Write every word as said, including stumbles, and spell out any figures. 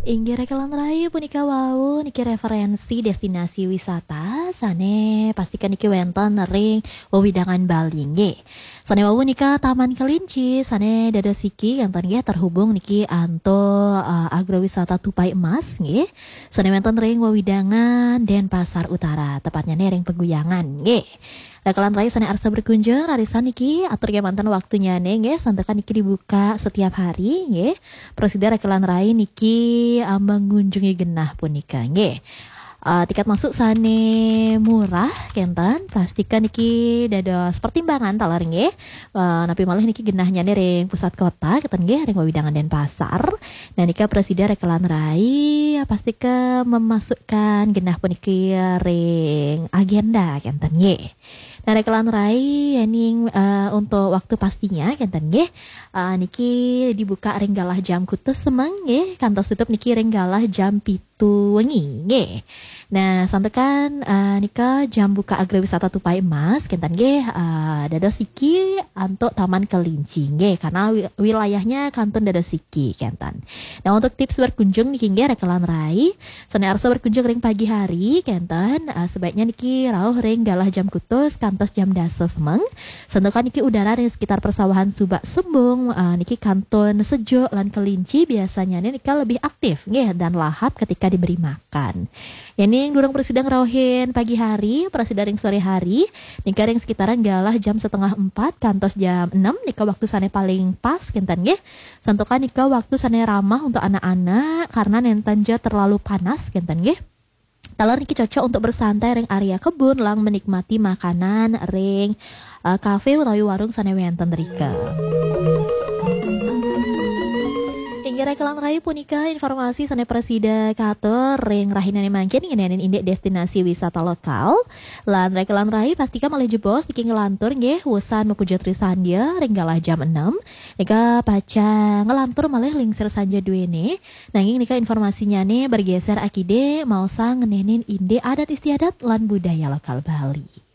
Inggih rekelan rai, punika wau niki referensi destinasi wisata sane pastikan niki wenten ring wewidangan Bali nggih. Sane wau nika Taman Kelinci sane dados siki kenten nggih terhubung niki antuk, eh, agrowisata Tupai Emas nggih. Sane wenten ring wewidangan Denpasar Utara, tepatnya nih ring Peguyangan nggih. Rekelan rai sane arsa berkunjung, rarisang niki atur kemanten waktunya nih nggih, santukan niki dibuka setiap hari nggih. Prasida rekelan rai niki, eh, mengunjungi genah punika nggih. Eh, tiket masuk sane murah kenten, pastikan niki dados pertimbangan taler nggih. Eh, napi malih niki genahnya nih ring pusat kota kenten nggih, ring wewidangan Denpasar. Nah nika prasida rekelan rai pastika memasukkan genah puniki ring agenda kenten nggih. Nah rekelan rai, yening, eh, untuk waktu pastinya kenten nggih. Eh, niki dibuka ring galah jam kutus semeng nggih, kantos tutup niki ring galah jam pitu wengi nggih. Nah santukan, eh, nika jam buka agrowisata Tupai Emas kenten nggih, eh, dados siki antuk Taman Kelinci nggih, karena wi- wilayahnya kantun dados siki kenten. Nah untuk tips berkunjung niki nggih rekelan rai, sane arsa berkunjung ring pagi hari kenten, eh, sebaiknya niki rauh ring galah jam kutus kantos jam dasa semeng. Santukan niki udara ring sekitar persawahan Subak Sembung, eh, niki kantun sejuk lan kelinci biasanya nika lebih aktif nggih dan lahap ketika diberi makan. Yening durung prasida ngrauhin pagi hari, prasida ring sore hari, nika ring sekitaran galah jam setengah empat kantos jam enam nika waktu sane paling pas kenten nggih. Santukan nika waktu sane ramah untuk anak-anak karena nenten ja terlalu panas kenten nggih. Taler niki cocok untuk bersantai ring area kebun lan menikmati makanan ring, eh, kafe utawi warung sane wenten rika. Inggih rekelan rai, punika informasi sane prasida katur ring rahinane mangkin ngenenin indik destinasi wisata lokal. Lan rekelan rai pastika malih jebos niki nglantur nggih wusan mapuja trisandya ring galah jam enam. Nika pacang nglantur malih lingsir sanja duene. Nanging nika informasinyane bergeser akide maosang ngenenin indik adat istiadat lan budaya lokal Bali.